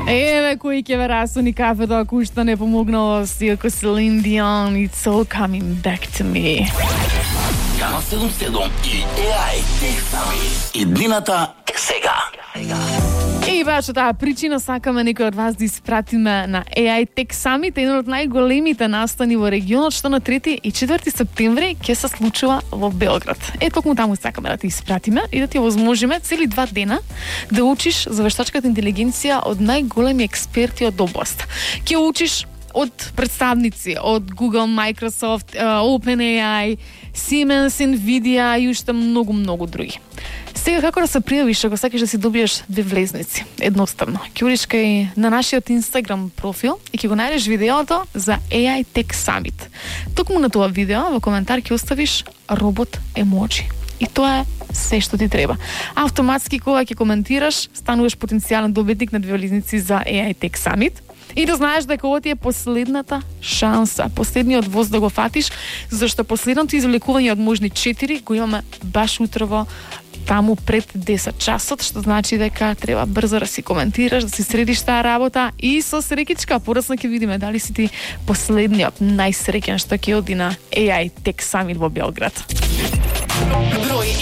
Еве кој ќе ве расуни кафето ако уште не помогнало си ако Celine Dion, It's All Coming Back to Me. Канал 77 и AI Tech Summit. Иднината е сега. И баш таа причина сакаме некој од вас да испратиме на AI Tech Summit, еден од најголемите настани во регионот, што на 3 и 4 септември ќе се случува во Белград. Токму таму сакаме да те испратиме и да ти овозможиме цели 2 дена да учиш за вештачката интелигенција од најголеми експерти од област. Ќе учиш од представници од Google, Microsoft, OpenAI, Siemens, Nvidia и уште многу други. Сега како да се пријавиш ако сакаш да си добиеш 2 влезници? Едноставно. Ќе одиш кај на нашиот Instagram профил и ќе го најдеш видеото за AI Tech Summit. Токму на тоа видео во коментар ќе оставиш робот емоджи. И тоа е се што ти треба. Автоматски кога ќе коментираш, стануваш потенцијален добитник на 2 влезници за AI Tech Summit. И да знаеш дека ова ти е последната шанса, последниот воз да го фатиш, зашто последното извлекување од можни 4 го имаме баш утрово таму пред 10 часот, што значи дека треба брзо да си коментираш, да си средиш таа работа и со среќичка подоцна ќе видиме дали си ти последниот најсреќен што ќе оди на AI Tech Summit во Белград. Број